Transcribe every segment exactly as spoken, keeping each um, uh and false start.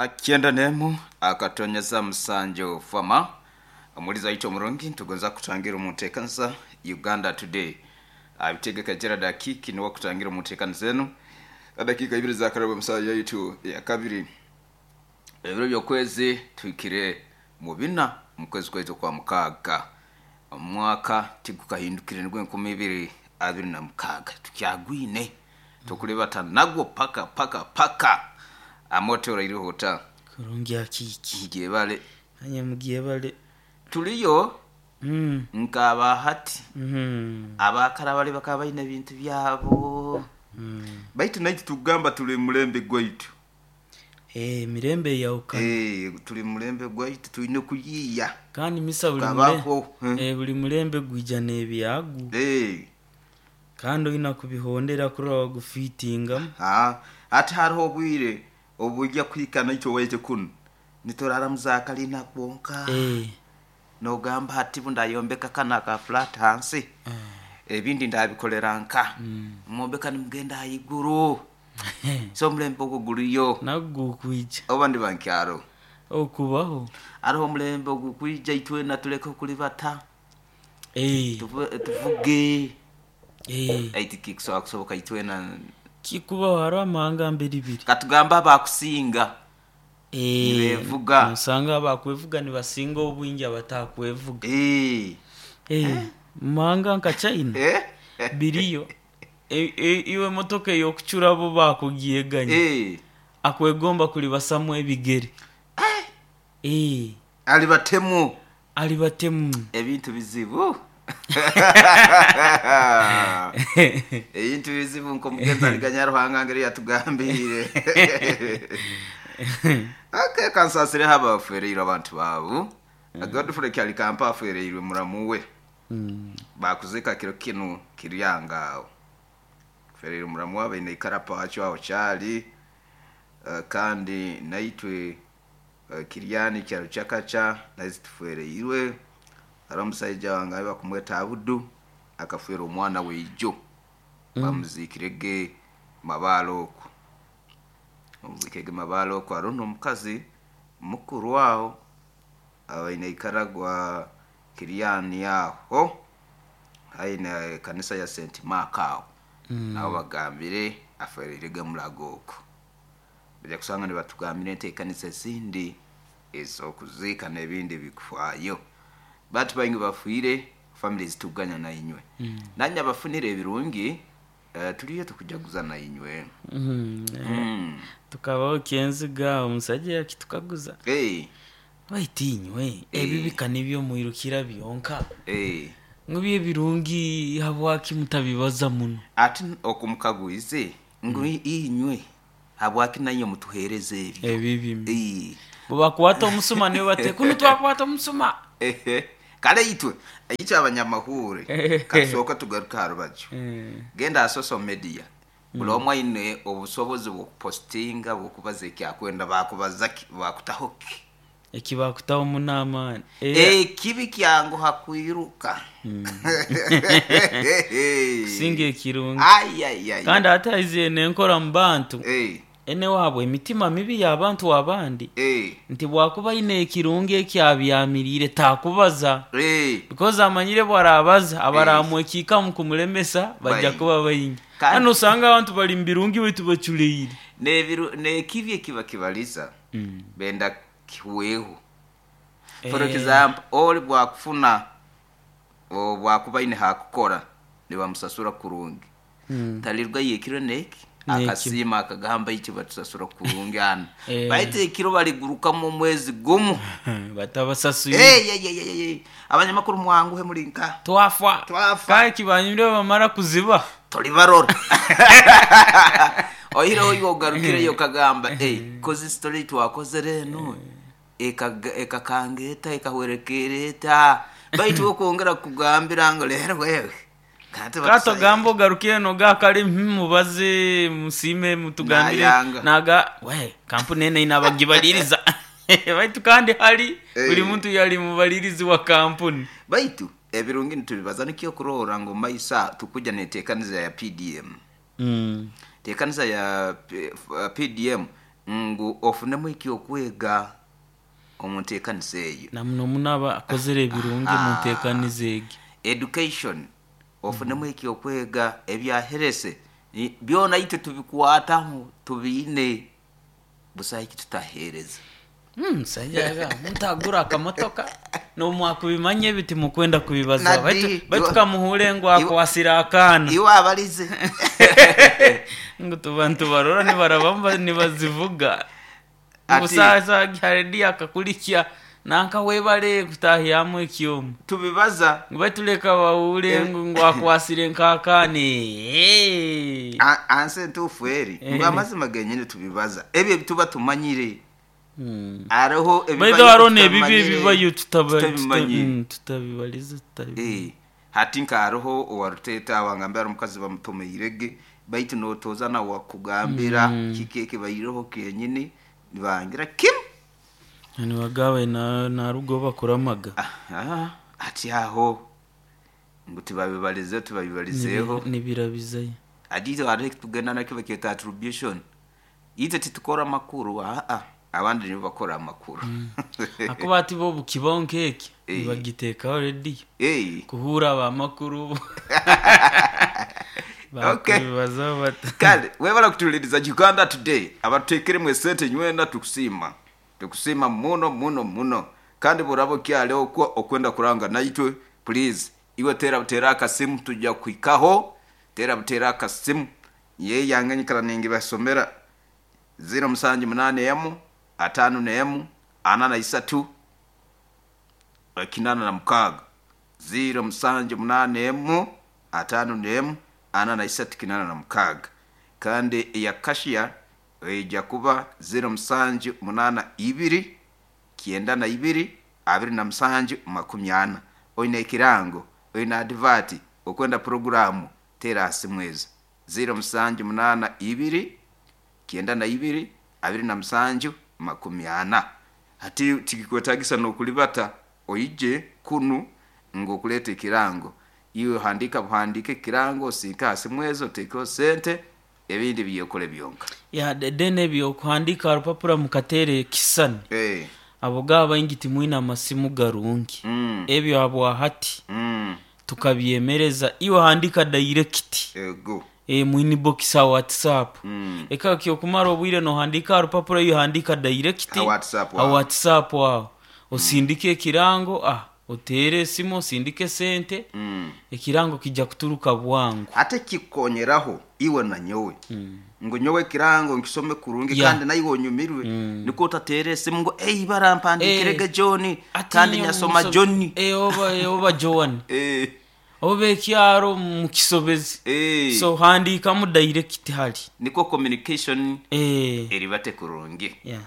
Kyenda nemu akatonyeza musanju fama omuliza waitu omurungi, ntugonza kutangira omunteekaniza Uganda Today. Abitegeka Gerard Akiki niwe kutangira omunteekaniza enu. Dakiika ibiri zakaraba omusaha yaitu ya kabiri, ebiro by'okwezi tuhikire mu bina mu kwezi kwaitu kwa mukaaga, omwaka tigukahindukire, nigwo enkumi ibiri abiri na mukaaga tukyagwine tukulibata nagwo paka paka paka. Amote orairiho ota? Kurungi Akiki. Ngyebale. Anye mugyebale. Tuliyo Mm. nkaba hati Mm. abakara bali bakaba baine ebintu byabo Mm. baitu naitwe tugamba tuli mulembe gwaitu. Eh, mirembe yawukana. Eh, tuli mulembe gwaitu, tulina kuyiiya. Kandi misa buli Kabaho, mule- eh. eh, buli mulembe gwija n'ebyagu. Eh. Kandi olina kubihondera kurora wagufiitingamu. Ah, ati hariho obwire obujja kuhika naitwe waitu kunu niturara muzakalina kwonka. Eh. Nogamba hati bundayombeka kana ka flat hansi, ebindi ndabikolera nka mwombeka nimugenda haiguru. So omulembe ogwo guliyo. Nagwo gukwija. Oba ndi bankyaro okubaho hariho omulembe ogukwija itwena tuleke okulibata. Eh. Tuvu- tuvuge. Eh. Aiti kikusobola kusoboka itwena. Kikubaho hariho amahanga mbiri ibiri. Katugamba abakusinga Eh, nibevuga. Nosanga abakwevuga nibasinga obwingi abatakwevuga. Eh. Eh, mumahanga nka China Eh? biriyo. E, e, iwe emotoka ey'okucura bo bakugyeganya. Eh. Akwegomba kulibasamu ebigere. Eh. Eh. Alibatemu. Alibatemu. Ebintu bizibu. Ebintu bizibu nkomugenzi aliganya Ruhanga ngeri yatugambire. Okay, kansasire haba afereirwe abantu baabo. Godfrey Kyalikampa afereirwe muramu we. Mm. Bakuzika kiro kinu kiryanga aho. Afereirwe muramu we baine ikarapa wacho aho kyali. Uh, kandi naitwe uh, kiryani kyaro kyakacha nazi tufereirwe. Hari omusaija wange ayi bakumweta Abudu akafera omwana weijo. Mm. Bamuzikirege mabaalo okwo. Bamuzikirege mabaalo okwo. Hariho n'omukazi mukuru aho abaine ikaragwa kiryani aho haine kanisa ya Saint Mark aho. Mm. Nabo bagambire afereirege murago okwo. Bajja kusanga nibatugambire enteekanisa ezindi ez'okuziika n'ebindi bikufaayo. Bantu baingi bafiire, families tuganya na inywe. Mm. Nanye abafunire ebirungi, uh, tuliyo tukujaguza na inywe. Mm. Mm. Tukabaho kyenziga omusajja yakitukaguza. Hey. Baitu inywe Eh. ebibika nibyo mwirukira byonka. Hey. Ngu ebirungi habwaki mutabibaza muno? Ati okumukagwize ngu Mm. inywe habwaki nanye mutuhereza ebyo. Ebibi. Eh. Bwe bakwata omusuma nibo bate kunu twakwata omusuma. Ehe. Kale itwe itwe abanyamahure katusooka tugaruka aha rubaju. Eh. Genda aha social media, buli Mm. omwe aine obusobozi bw'okupositinga bw'okubaza ekyakwenda, bakubaza ki, bakutaho ki? Ekibakutaho munaamaani. Eh. Ekibi kyanguha kwiruka Mm. Kusinga ekirungi. Ai, ai, ai. Kandi ate aiziire nenkora mu bantu. Eh. Ene waabwe emitima mibi y'abantu abandi. Eh. Nti bwakuba aine ekirungi ekyabyamiriire takubaza. Eh. Because amanyire bwarabaza Eh. abaramwekiikamu kumulemesa bajja Baingi. kuba baingi. Kandi Hano osanga abantu bali mu birungi baitu baculeire. N'ebiru- n'ekibi ekiba kibaliza Mm. benda kiweho. For Eh. example, oli bwakufuna bwakuba aine hakukora nibamusasura kurungi. Mm. Talirwa yekiro neki Neki. akasiima akagamba iki batusasura kurungi hano. Eh. Baitu ekiro baligurukamu omwezi gumu. Batabasasuire. Hey, hey, hey, hey, hey. Abanyamakuru mwanguhe muri nka. Twafa. Twafa. Kae kibanyire bamara kuziba. Tolibarora. Oyireho iwe ogarukireyo okagamba, hey, kozi story twakozere eno ekakanga eta ekahwerekera eta. Baitu okwongera kugambira ngu leero wewe. Kanti Kato batusa- gamba ogarukire noga kale hmm, mubaze musiime mutugambire Nayanga. naga we kampuni ene inabagibaliriza. Baitu kandi hali Eh. buli muntu yali mubalirizi wa kampuni. Baitu ebirungi nitubibaza nikyo kurora ngu maisa tukuja neteekaniza ya P D M. Mm. Teekaniza ya P-, P D M Ngu ofunemu ekyokwega omu nteekaniza eyo. Na muno muno aba akozere ebirungi mu nteekaniza egi. Education, ofunemu ekyokwega ebyaherese Ni- byona itwe tubikwataho, tubiine busaho eki tutaheereza. Mm, musajja mutagura akamotoka nomwakubimanya ebi timukwenda kubibaza. Nadi, baitu baitu iwa- kamuhure ngu akwasire akaana. Iwe abalize. Ngu tuba ntubarora nibaraba nibazivuga. Ati- Busasa haredi akakulikya nanka webale kutahyamu ekyoma. Tubibaza. Ngu baituleka bahure ngu ngu akwasire nk'akaana. Eh. A- ansi entuufu eri Eh. ngu amazima genyini tubibaza ebyo ebituba tumanyire. Mm. Hariho Baitu hariho n'ebibi tutamanyire, ebibayo tutaba- tutabimanyire. tuta- mm, tutabibaliza tutabi. Eh, hati nka hariho owaruteta wangambira ari omukazi bamutomeirege, baitu notoza nawe wakugambira kiki ekibaireho kenyini nibangira kimu. Nibagabe na narugo bakuramaga. Aha, ati aho ngu tibabibalize, tubabibalizeeho. Nibirabizayo. Ati hariho ekitugenda nakyo bakyeta attribution, itwe titukora amakuru, aa, abandi nibo bakora amakuru. Akuba ati bo bukibaho nk'eki Eh. nibagiteekaho rediyo Eh, kuhura abamakuru Okay. bakubibazaho bata. Kale webala kutuliriza Uganda Today, abatuteekeremu esente nywena tukusiima, tukusiima muno muno muno. Kandi buraba okyaliho okwo okwenda kuranga naitwe, please iwe tera butera akasimu, tujja kuhikaho. Tera butera akasimu ye yange nyikara ningibasomera ziro musanju munane emu atano nemu ana na isatu kinana na mukaaga, ziro musanju munane emu atano nemu ana na isatu kinana na mukaaga. Kandi eya kashiya ejja kuba ziro musanju munana ibiri kyenda na ibiri abiri na musanju makumi ana. Oine ekirango, oine adivati, okwenda puroguramu, tera asimu ezo ziro musanju munana ibiri kyenda na ibiri abiri na musanju makumi ana. Hati tikikwetagisa nokulibata oije kunu ng'okuleeta ekirango, iwe handika buhandike ekirango, osiike hasi mwezo, oteekeho sente, ebindi byekole byonka. Ya then ebyo okuhandika rupapura mukateere ekisani. Eh, abo gaba baingi timwine amasimu garungi. Mm. Ebyo habwa hati mm, tukabyemereza, iwe handika direct ego. e, mu inbox a WhatsApp. Mm. Eka kyokumara obwire nohandika aha rupapura, iwe handika direct Ha WhatsApp ha aho. WhatsApp aho osindike ekirango, ah, otere esimu osindike sente. Mm. Ekirango kijja kuturuka bwangu. Ate kikonyeraho iwe na nyowe ngu nyowe ekirango nkisome kurungi. Yeah. Kandi naiwe onyumirwe niko otateera esimu ngu ei barampandiikirege Eh. John. Ati kandi nyo nyasoma muso- John. Eh, oba eh, oba Joan Eh, oba ekyaro mukisobezi. eh. So handikamu direct hali. Niko communication eh, eribate kurungi. Yeah.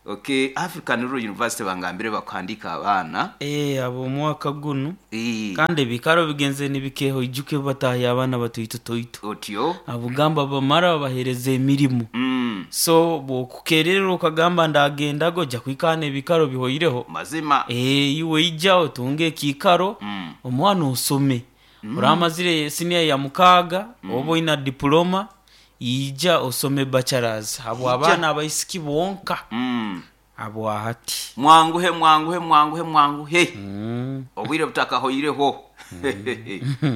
Okay, African Rural University bangambire bakuhandika abaana. Eh, abo omwaka guno. Eh, kandi ebikaro bigenze nibikeho, ijuke batahya abaana batoito toito. Otyo. Abugamba bamara babahereza emirimu. Mm, so bwokukererera okagamba ndagendago ojja kwikana ebikaro bihoireho. Mazima. Eh, iwe ija otunge ekikaro. Mm. Omwana osome oramazire siniya ya mukaaga oba oina diploma, ija osome bachelors habwa abaana abaisiki bonka. Mm. Habwa hati. Mwanguhe, mwanguhe, mwanguhe, mwanguhe. Mm. Obwire butakahoireho,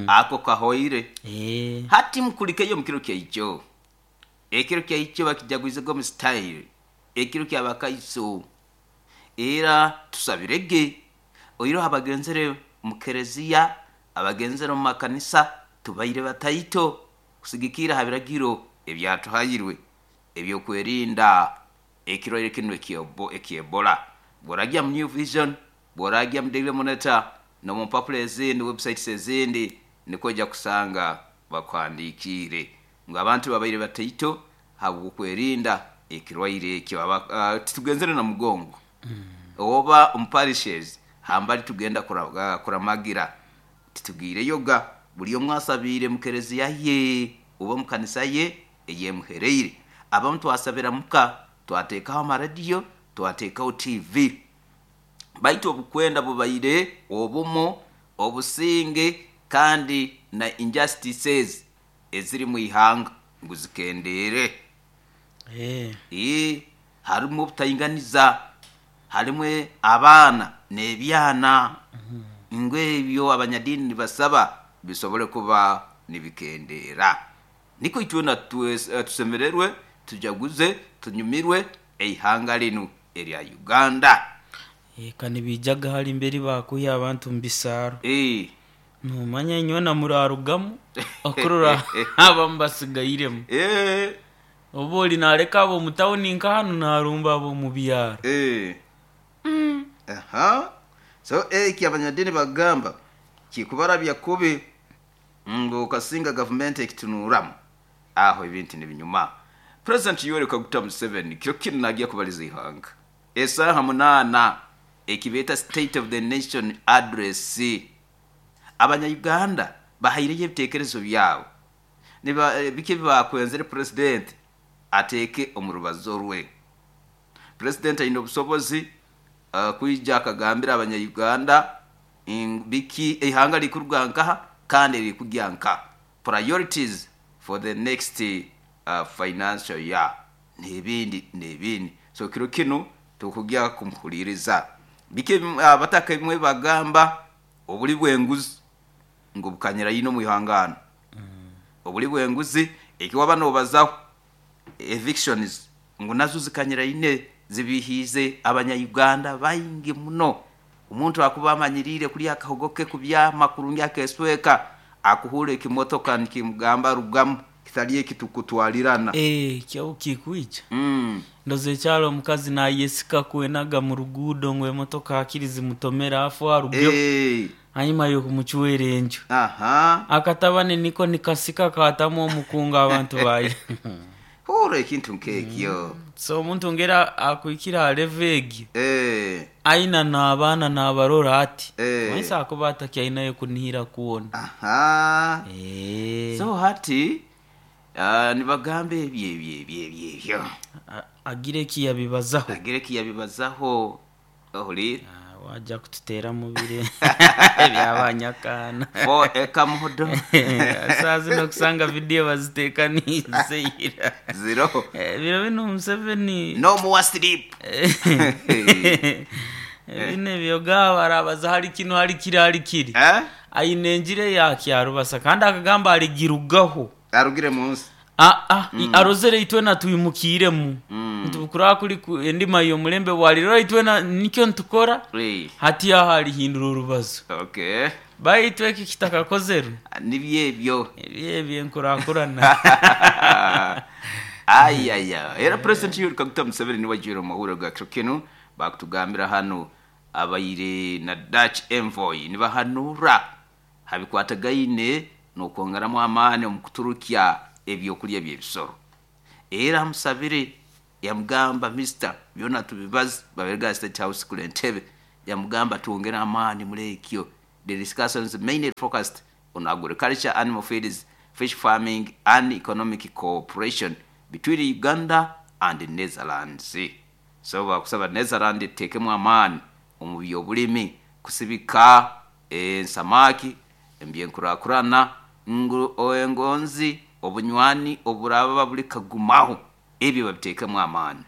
ako kahoire. Eh. Hati mukulikeyo mukiro kyaijo, ekiro kyaijo bakijagwizego mu style, ekiro kyabakaiso era tusabirege oiroho abagenzere mu kereziya, abagenzere mu makanisa, tubaire bataito kusigikira ha biragiro ebyatuhairwe ebyokwerinda ekirwaire kino ekyebo- ekyebola. Bworajya mu New Vision, bworajya mu Daily Monitor nomu mpapula ezindi, websites ezindi, niko ojja kusanga bakwandikiire ngu abantu babaire bataito habwokwerinda ekirwaire ekyo. Aba- uh, titugenzere na mugongo oba omuparishes hambali tugenda kura- uh, kuramagira, titugiireyoga buli omu asabiire mu kereziya ye oba mu kanisa ye eyemuhereire. Abamu twasabira muka, twateekaho amaradiyo, twateekaho T V, baitu obukwenda bubaire obumu obusinge kandi na injustices eziri mu ihanga ngu zikendeere. Eh. Ee, Harimu obutainganiza, harimu abaana n'ebyana. Ngu ebyo abanyadiini nibasaba bisobole kuba nibikendeera. Niko itwena tusemererwe, tujaguze, tunyumirwe eihanga linu erya Uganda. Eka nibijaga hali imberi bakuya abantu mu bisaaro. Eh. Numanya inywena murarugamu okurora abamu basigairemu. Eh. Oba oli naleka abo mu tawuni nka hanu narumba abo mu byaro. Eh. Mm. Aha. So eki abanyadini bagamba kikubarabya kubi ngo kasinga gavumenti ekitunuramu aho ebintu nibinyuma. President Yoweri Kaguta Museveni kiro kinu nagiya kubaliza ihanga esaha munana ekibeta State of the Nation Address. Abanya-Uganda bahaireyo ebitekerezo byabo niba biki bakwenzere president ateeke omu rubazo rwe. President aine obusobozi uh, kwija akagambira abanya-Uganda biki ihanga likuruga nkaha kandi likugya nka priorities for the next uh, financial year n'ebindi n'ebindi. So kiro kinu tukugya kumuhuliriza biki abataka bimwe bagamba obuli bwenguzi ngo bukanyira yino mu ihangano. Mm. Obuli bwenguzi ekiwa bano bazaho evictions ngo nazo zikanyira ine zibihize abanya-Uganda baingi muno. Omuntu akuba amanyirire kuli akahogoke kubyama kurungi akesweka akuhura ekimotoka nikimugamba rugamu kitali kitukutwalirana. Eh, kyo kikwicha. Mm. Ndoze kyalo omukazi nayesika kwenaga mu rugudo ngo emotoka akirizi mutomera afu arugyo. Eh. Hanyuma yo kumuchwera enju. Aha. Akatabane niko nikasika katamu omukunga abantu bayi. Hura ekintu nkekyo. Mm. So omuntu ngera akuikira levegi. Eh. Aina na abana na abarora ati. Eh. Mwensa akuba atakiainayo kunihira kuona. Aha. Eh. So hati uh, nibagambe ebyo ebyo ebyo ebyo. Agire kiyabibazaho. Agire kiyabibazaho. Ohuli. Ah, wajja kututera mubire byabanyakana. Fo eka muhodo. Saa zino kusanga video baziteekanize ira. Zero. Eh, biro bino Museveni. No more sleep. Bine byoga barabaza hari kino hari kiri hari kiri. Eh? Aine njire yakyarubasa kandi akagamba aligirugaho. Arugire munsi. Ah ah, mm. Arozere itwena tuyimukiremu. Mm. Ntubukura kuri endima yo mulembe waliro itwena nikyo ntukora. Hey. Hati ahali hindura urubazo. Okay. Bayitwe iki kitakakozeru. Nibyebyo. Ebyebyo nkurakurana. Ayaya. Era President Yoweri Kaguta Museveni niwe jiro mahuro ga kino bakutugambira hano abayire na Dutch envoy nibahanura habikwatagaine nokwongeramu amaani omu kuturukya ebyokulya by'ebisoro. Era amusabire yamugamba Mister byona tubibaze baberega State House kule Entebbe yamugamba tuongere amaani muri ekyo. The discussions mainly focused on agriculture, animal feeds, fish farming and economic cooperation between Uganda and the Netherlands. So bakusaba Netherlands tekemu amaani omu byobulimi kusibika ensamaki embyenkurakurana ngu engonzi obunywani oburaba buli kagumaho ebyo babitekemu amaani.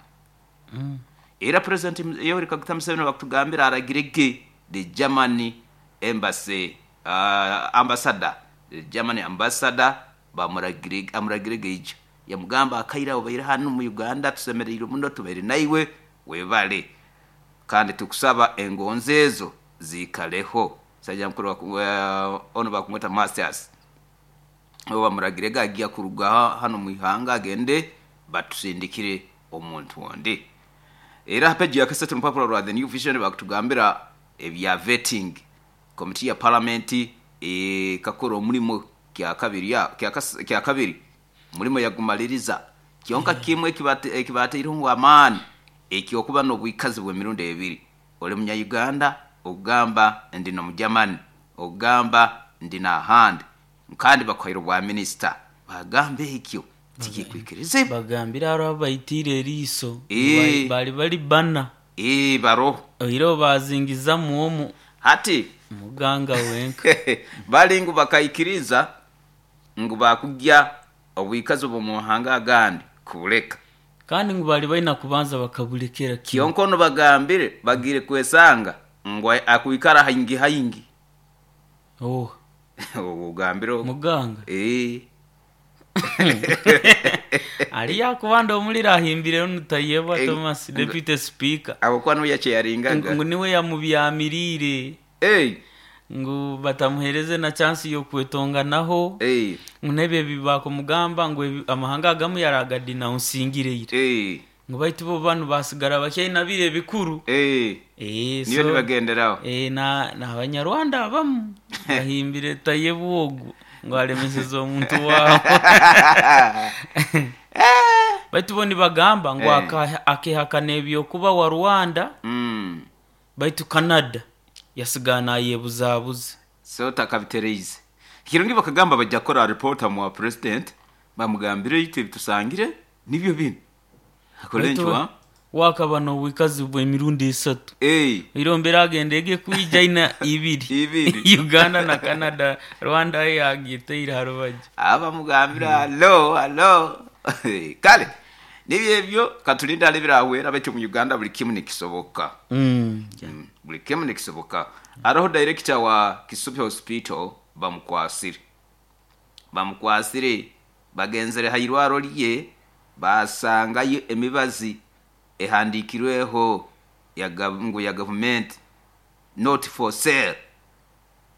Mm. Era President Yoweri Kaguta Museveni bakutugambira aragirege the Germany embassy uh, ambassador the Germany ambassador bamuragirege amuragirege ijo yamugamba akaira obaire hano mu Uganda tusemereire muno tubaire naiwe webale kandi tukusaba engonzi ezo zikaleho. Sajja mukuru uh, ono bakumweta Masters oba muragirege agiya kuruga hano mu ihanga agende batusindikire omuntu ondi. Era peji ya kasatu mpapuro rwa The New Vision bakutugambira ebya vetting committee ya parliament e kakora omulimo kya kabiri ya kya kabiri mulimo yagumaliriza kyonka kimwe kibate kibateire ngo amani ekyokuba n'obwikazi bw'emirundi ebiri. Oli munya Uganda ogamba ndi no mujamani ogamba ndi na hand kandi bakwahira bwa minister bagambe ekyo tikikwikirize bagambira aro abayitire eriso e. bali bali bana e baro oiro bazingiza muomu hati muganga wenka balingu bakaikiriza ngu bakugya obwikazi bwo muhanga agandi kuleka Kandi ngu bali balina kubanza bakabulekera kimu. Kyonkono bagambire bagire kwesanga ngu akwikara haingi haingi. Oh. Ogambire ogwo. Muganga. Eh. Ali yakubanda omuliro ahimbire onu Tayebwa Eh, Thomas deputy speaker. Abo kwa niwe yacheyaringaga. Ngu niwe yamubyamirire. Eh. Ngu batamuhereze na chance yokwetonganaho. Eh. Ngu nebyo ebibakumugamba ngu ebi- amahanga agamu yaragadinawunsingire. Eh. Ngu baitu bo banu basigara bakyaina bire ebikuru. Eh. Eh, Niyo so, nibagenderaho. eh, na n'abanyarwanda abamu bahimbire Tayebwa ogwo ngu alemeseze omuntu waabo. Baitu bo nibagamba ngu Eh. aka- akehakana ebyokuba wa Rwanda. Mm. Baitu Canada yasigara nayebuzabuza. So takabitereize. Kirungi bakagamba bajja kukora reporter mu president bamugambire ite bitusangire nibyo bino. Akole Baitu nchwa. wakaba n'obwikazi bw'emirundi esatu. Eh. Irombera agenda ege kwija ina ibiri. Ibiri. Uganda na Canada, Rwanda yagiteire harubaji. Abamugambira halo halo. Kale nibyo ebyo katulinda alibirahwera becho mu Uganda buli kimu nikisoboka. Mm. Mm, buli kimu nikisoboka. Aroho director wa Kisubi Hospital bamukwasire. Bamukwasire bagenzere hairwaro lye basangayo emibazi ehandikirweho ya gav- ngu ya government not for sale.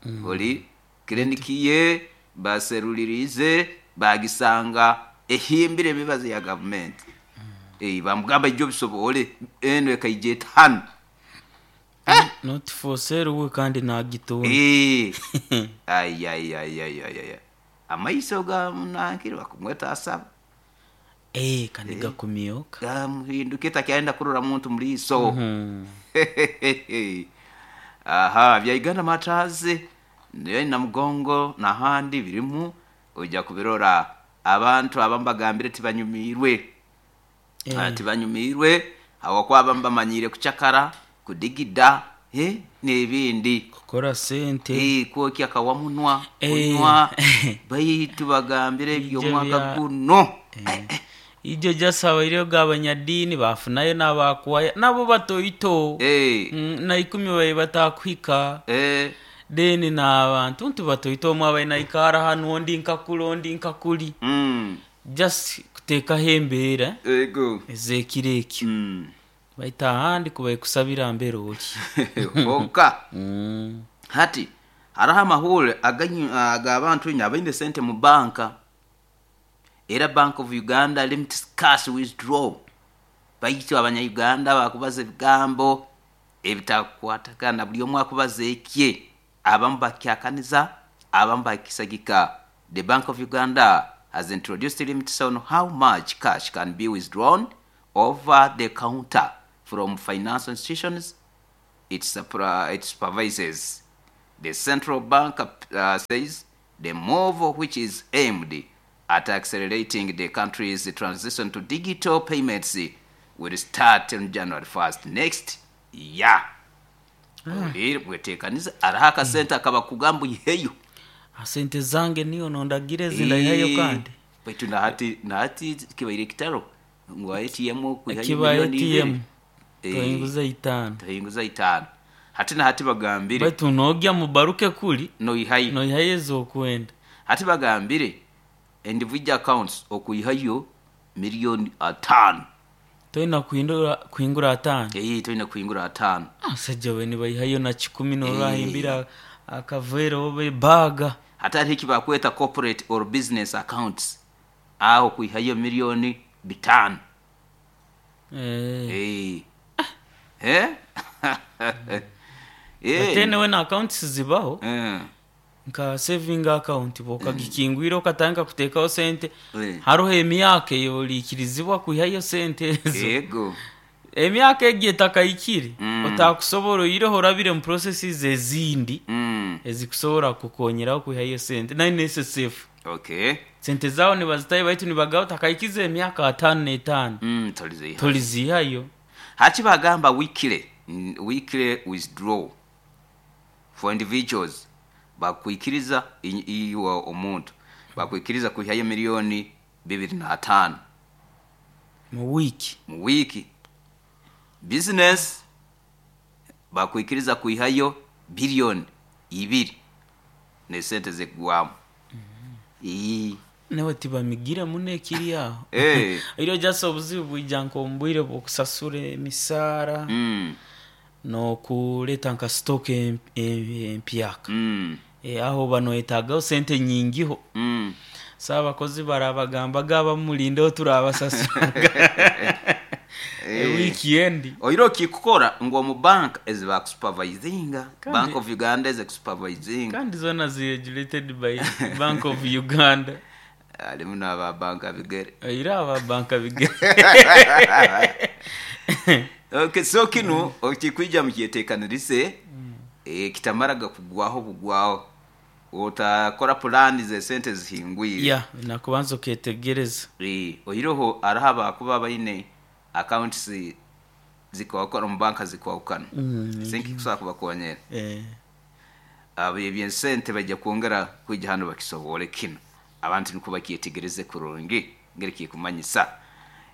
Mm. Oli kliniki ye baserulirize bagisanga ehimbire emibazi ya government. Mm. Eh bamugamba ibyo bisobole eno ekaije etano. Not for sale we kandi nagitunda. Eh. Ay ay ay ay ay ay. Amaiso ga munankiri bakumweta asaba. Eh, kandi gakumyoka. Gamuhinduke takyaenda kurora muntu muliso. Mm. Aha, bya Uganda matazi niyo na mugongo n'ahandi birimu ojja kubirora abantu abambagambire tibanyumirwe. Eh. Ah, tibanyumirwe awakwaba mbamanyire kuchakara kudigida eh n'ebindi. Kukora sente. Eh, kwokya kawamunwa Eh. kunywa baitu bagambire Ibyo eby'omwaka bya- guno. Eh. Ijo jasaba iriyo g'abanyadiini bafunayo n'abakuwaya nabo batoito. Eh. Mm, na ikumi baye batakuhika. Eh. Then n'abantu nti batoito omwe abaye naikara hanu ondi nkakuli ondi nkakuli. Mm. Just kuteekaho embeera Ego. ez'ekiro ekyo. Mm. Baitu ahandi kubaye kusabira mbere oli. Oka. Mm. Hati hariho amahure aganyu- ag'abantu nyine abaine sente mu banka. Era Bank of Uganda limits cash withdraw. Baitu abanya-Uganda bakubaza ebigambo ebitakwatagana buli omu akubaza ekye. Abamu bakyakaniza, abamu bakisagika. The Bank of Uganda has introduced limits on how much cash can be withdrawn over the counter from financial institutions it, supra- it supervises. The central bank uh, says the move, which is aimed at accelerating the country's transition to digital payments, will start on January first next year. Olire bwetekanize araho akasente akabakugamba uyiheyo. Sente zange niyo nondagire zindayihayo kandi. Baitu nahati nahati kibaire kitaro ngu A T M okwihayo Kibaye miliyoni ibiri. A T M. Eh, Toyinguza itaano. toyinguza itaano. Hati nahati bagambire Baitu nogya mubaruke kuli noyihayo. noyihayo ezokwenda. Hati bagambire individual accounts okuyihayo miliyoni ataano. Toyina kuhindura kuhingura ataano. Eh, toyina kuhingura ataano. Abasajja we nibayihayo na kikumi norahimbira akavere oba ebaga. Hati hariho eki bakweta corporate or business accounts aho kuihayo miliyoni bitaano. Eh. Eh. Eh? Eh. Ate newe na accounts zibaho Eh. nka saving account bokagikingwira okatandika kuteekaho sente. Eh. Hariho emyaka eyoriikirizibwa kwihayo sente ezo. Ego. Emyaka egi etakahikire Mm. otakusobora oyireho orabire mu processes ezindi Mm. ezikusobora kukonyeraho kwihayo sente nayo N S S F. Okay. Sente zaawe nibazitayo baitu nibagaho takahikiza emyaka ataano n'etaano. Mm, tolizihayo. Tolizihayo. Haki bagamba weekly, mm, weekly withdraw for individuals bakwikiriza i-, iwe omuntu bakwikiriza kwihayo miliyoni bibiri na ataano. Mu wiiki. Mu wiiki. Business bakwikiriza kwihayo biliyoni ibiri nesente zekugwamu. Ii. Nawe tibamigire muno ekiri aho. Eh. Iro jasa obuzibu bwija nk'omu bw'okusasura emisaara Mm. n'okuleeta nka stock em- em- empyaka. Mm. E, aho banoyetagaho sente nyingiho. Mm. So abakozi barabagambaga abamulindeho turabasasuraga Eh. weekend. Oiro okikukora ngu omu bank ezibakusupervisinga, Kandi- Bank of Uganda ezikusupervisinga. Kandi zona ziregulated by Bank of Uganda. Alimu n'aba banka bigere. Era aba banka bigere. Okay, so kinu okikwija mukyeteekanirise, eh, kitamaraga kugwaho bugwaho. Otakora pulani z'esente zihingwire. Ya, nakubanza oketegereza. Eh, oiroho araho abakuba baine accounts zikwakora omu banka zikwahukana. Mm, Sinki kusobola kubakonyera. Eh. Abo ebyensente bajja kwongera kwija hano bakisobole kino. Abantu niko bakyetegereze kurungi ngeri kikumanyisa.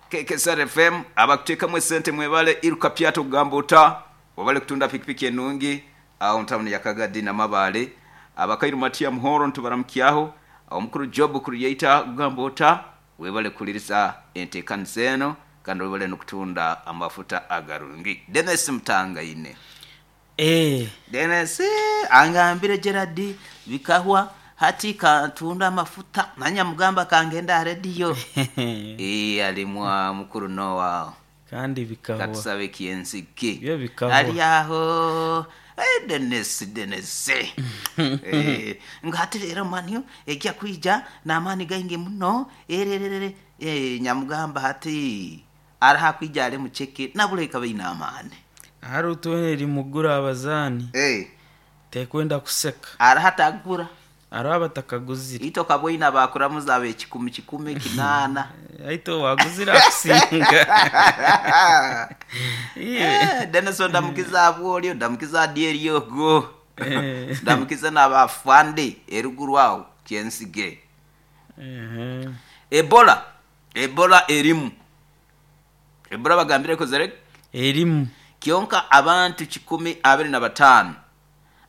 K K S R F M abakuteekamu esente mwebale iruka pyato kugamba ota wabale kutunda pikipiki enungi aho ntawuni ya Kagadi na Mabale. Abakairu Matia Muhoro ntubaramukyaho omukuru Job Creator kugamba ota webale kuliriza enteekaniza eno kandi webale nokutunda amafuta agarungi. Dennis Mtangaine. Eh. Dennis angambire Gerard bikahwa hati katunda amafuta nanya mugamba kangenda radio. Eh, alimwa mukuru Noah. Kandi bikahwa. Katusabe kiensiki. Byo bikahwa. Ali aho. Eh, Dennis, Dennis. Eh, ngati rero manyo ejya kwija namani gainge muno ererere. Eh, nyamugamba hati araha kwija ale mucheke nabuleka baina amani. Hari utuweneri mugura abazani. Eh. Tekwenda kuseka. Araha tagura. Araha batakaguzira. Ito kabwina bakuramuza abe kikumi kikumi kinana. Aito waguzira kusinga. Eh, Dennis ndamukiza abwolio ndamukiza dieri yogo. Eh. Ndamukiza n'abafande eruguru awo kyensige. Eh. Ebola, Ebola erimu. Ebola bagambire ko zere Erimu. Kyonka abantu kikumi abiri na batano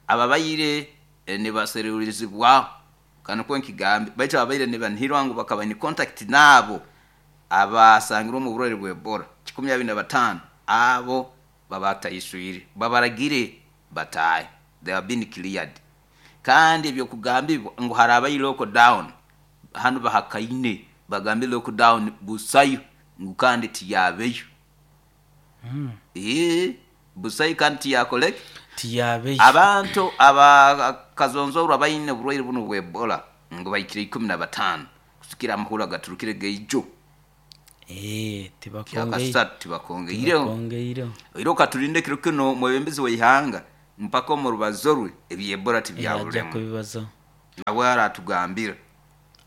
ababayire eh, ne baserurizibwa kano ko nkigambe baita ababayire ne banhirwa ngo bakaba ni contact nabo abasangirwa mu burore bwa Ebola kikumi abiri na batano abo babatayiswire babaragire bataye, they have been cleared. Kandi ebyo kugambibwa ngo harabaye lockdown hano bahakaine bagambe lockdown busayo ngo kandi tiyabeyo. Mm. Eh, busayo kandi tiyakoleke Tiyabeyo. Abantu abakazonzorwa bayine oburwaire buno bwa Ebola ngo bayikire ikumi na batano kusikira amahura gaturukire geijo. Eh, tibakongeye. Kyakasatu tibakongeireho. Tibakongeireho. Iro katurinde kiro kino mwebembezi w'ihanga mpaka mu rubazo rwe ebya Ebola tibyabulemo. Ajja kubibaza. Nawe aratugambira.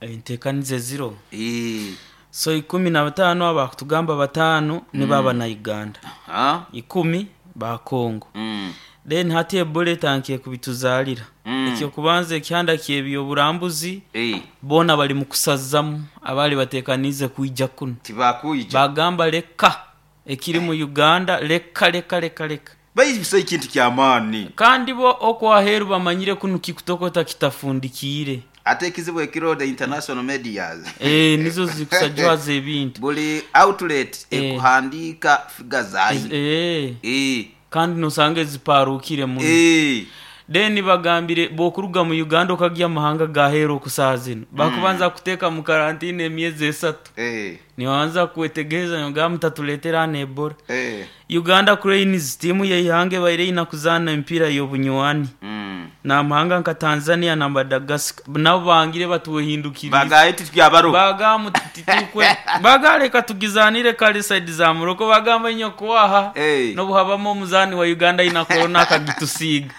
Enteekanize ziro. Eh. So ikumi na batano abakutugamba batano mm. ni baba na Uganda. Ha? Ikumi ba Kongo. Mm. Then hati Ebola etankiye kubituzalira. Mm. Ekyo kubanza ekyanda kyebyo burambuzi. Eh. Bona bali mu kusazamu abali batekanize kuija kuno. Tibakuija. Bagamba leka ekiri mu Uganda leka leka leka leka. Bayibisa ikintu kya maani. Kandi bo okwaheru bamanyire kuno kikutokota kitafundikire. Ate ekizibu ekiro the international medias. Eh, nizo zikusajwaza ebintu. Buli outlet Eh. ekuhandika figa zayo. Eh. Eh. Kandi nosange ziparukire muno. Eh. Then bagambire bokuruga mu Uganda okagya amahanga gahero okusazino. Bakubanza kuteka mu karantine emyezi esatu. Eh. Niwanza kwetegereza ngamba mutatuletera na Ebola. Eh. Uganda Cranes timu yeyihange baire inakuzana empira y'obunywani. Mm. Na amahanga nka Tanzania na Madagascar nabo bangire batuhindukiriza. Bagaye tutyabaro. Bagamu titukwe. Bagaleka tugizanire kali side za Morocco bagamba nyokwaha. Hey. Nobuhabamo omuzani wa Uganda ina corona akagitusiga.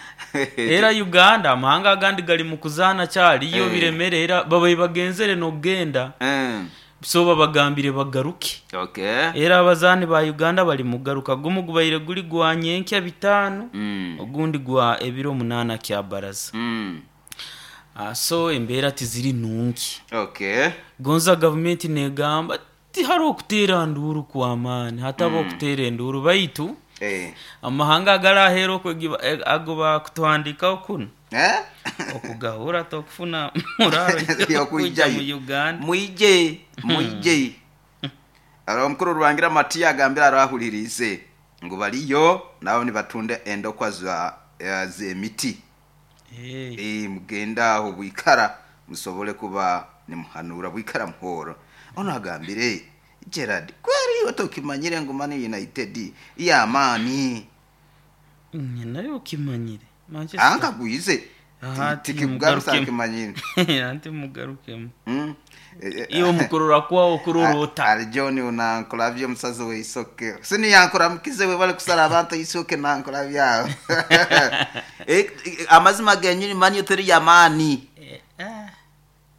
Era Uganda amahanga agandi gali mu kuzana cyari iyo Hey. biremere era babaye bagenzere no genda. Mm. So babagambire bagaruke. Okay. Era abazani ba Uganda bali mugaruka gumu gubayire guli gwa nyenkya bitano. Mm. Ogundi gwa ebiro munana kya baraza. Mm. Ah, so embeera tiziri nungi. Okay. Gonza government negamba Tihariho okuteera nduuru kw'amaani, hataba okuteera enduuru, baitu Eh. amahanga agaraheera okwegiba eh, ago bakutuhandikaho kunu Eh? okugahura tokufuna muraro yokwija mu Uganda. Mwije, mwije. Ara omukuru Rurangira Matiya agambira arahulirize ngu baliyo nabo nibatunda endokwa za eh, z'emiti. Eh, Eh, mugenda aho bwikara musobole kuba nimuhanura bwikara muhoro. Ono agambire Gerard, kweri iwe tokimanyire ngu Man United y'amaani. Nye nayo okimanyire Manchester. Ankagwize. Aha, ati Tikikugarusa mugarukemu. akimanyire. Anti mugarukemu. Mm. Eh, eh, Iyo mukurura kwawo kurorota. Ali John unankola omusazi weisoke siniyankora mukize we bali kusala abantu isoke nankola byawo. Eh, eh, amazima genyini manyo teri yamaani. Eh, ah,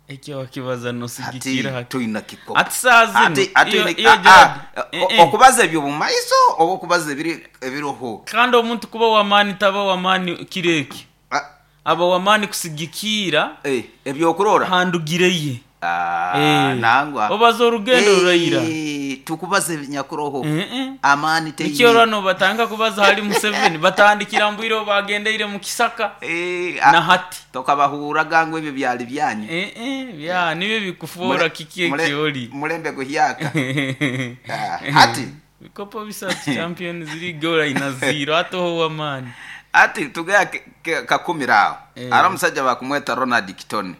ekyo wakibaza Ati nosigikira hati. tuyina kikopo. Ati saa zino Ati- ati iyo- ni- iyo ah, Gerard, ah, eh, o- eh. okubaza ebyo mumaiso oba okubaza ebiri ebiroho. Kandi omuntu kuba wamaani taba wamaani kireki. Ah, Aba wamaani kusigikira eh, ebyokurora handugire ye. Ah, Eh, nangwa obaza orugendo Eh, ruraira. tukubaza ebinyakuroho. Eh, eh. Amaani teine. Nikyo rano batanga kubaza hali Museveni batandikira mbwire bagendeire mu kisaka Eh, ah, na hati. tokabahuraga ngu ebyo byali byanyu. Eh, eh, bya nibyo bikufuura Mule- kiki mule- ekyoli. Mulembe guhyaka. Ah, hati Bikopo bisatu Champions League ora ina zero atoho wamaani. Ati tugaya ke- ke- kakumira aho. Eh. Ari omusajja bakumweta Ronald Kitone,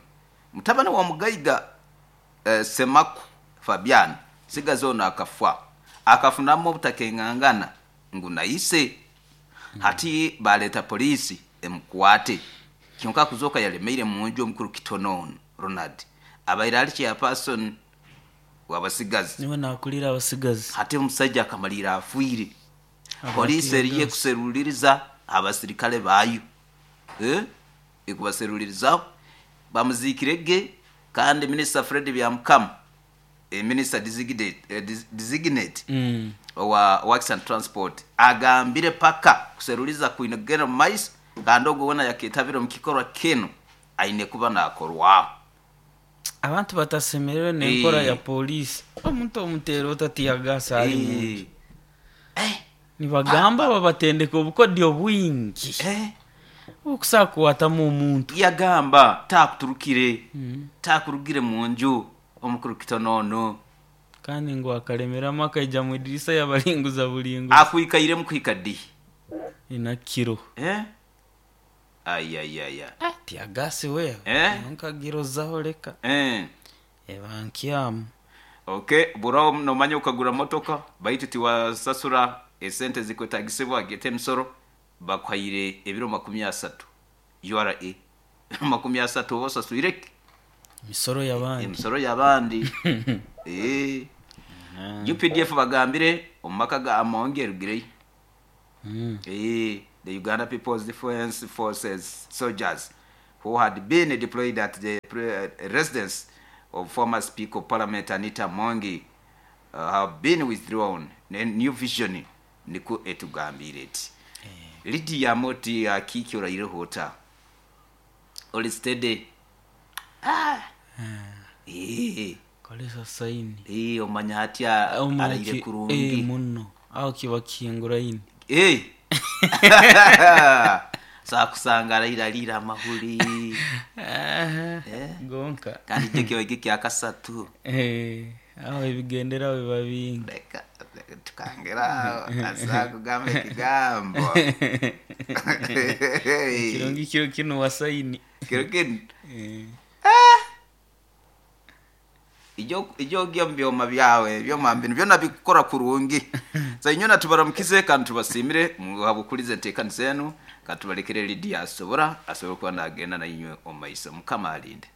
mutabani wa mugaiga eh, Semaku Fabian sigazi ono akafa akafunamu obutakengangana ngu naise. Hati baleta polisi emukwate, kyonka kuzoka yalemeire munju. Omukuru Kitone ono Ronald abaire ali chairperson wabasigazi. Niwe nakulira abasigazi. Hati omusajja akamalira afiire. Abatiya Polisi eriyo gas. ekuseruliriza abasirikale baayo. Eh? Ekubaserulirizaho bamuzikirege. Kandi Minisita Fred Byamukama, eh, minister designate, eh, des- designate Mm. owa Works and Transport agambire paka kuseruliza kwine kugenda mu maiso, kandi ogwo wona yaketabire omu kikorwa kinu aine kuba nakorwaho. Abantu batasemerewe n'enkora Eh. ya polisi. Omuntu omuteera otatiyagasa ali munju. Eh, Nibagamba babatendeka obukodyo bwingi eh. okusaa kuwatamu omuntu. Yagamba takuturukire, takurugire mu nju omukuru Kitono ono. Kandi ngu akalemeramu akaija mu idirisa yabalinguza bulinguza. Akwikairemu kuhika ddi? Ina kiro. Eh? Ayayaya. Tiyagasi wewe. Eh? Nkagirozaho leka. Eh. Ebankyamu. Okay, buraho nomanya ukagura motoka baitu tiwasasura esente zikwetagisibwa gete emisoro bakwaire ebiro makumi asatu U R A makumi asatu oba osaswireki Emisoro y'abandi. Emisoro y'abandi. Eh. U P D F bagambire omu maka ga Amongi erugireyo. Mm. Eh, the Uganda People's Defense Forces soldiers who had been deployed at the pre- uh, residence of former Speaker of Parliament Anita Mongi uh, have been withdrawn. Ne New Vision niko etugambire eti. Lydia Moti akiki oraire hota. Oli steady. Ah. Eh, Kolesa saini. eh, omanya hatya Omu araire ki- eh, kurungi. muno. Aho kiba kihinguraine. Eh. Sakusanga arayirarira amahuri. Eh? Gonka. Kandi icyo kiba kya kasatu. Eh, aho ebigenderaho biba bingi. Reka tukangera azakugamba ekigambo. Kirungi kiro kino wasaini. Kiro kino. Eh. Ijyo ijyo mu byoma byawe byoma mbinu byona bikukora kurungi. Sa inyona tubaramukize kandi tubasimire muhabukulize enteekaniza enu, kandi tubalekere Lydia asobora asobora kuba nagenda na inywe omu maiso. Mukama alinde.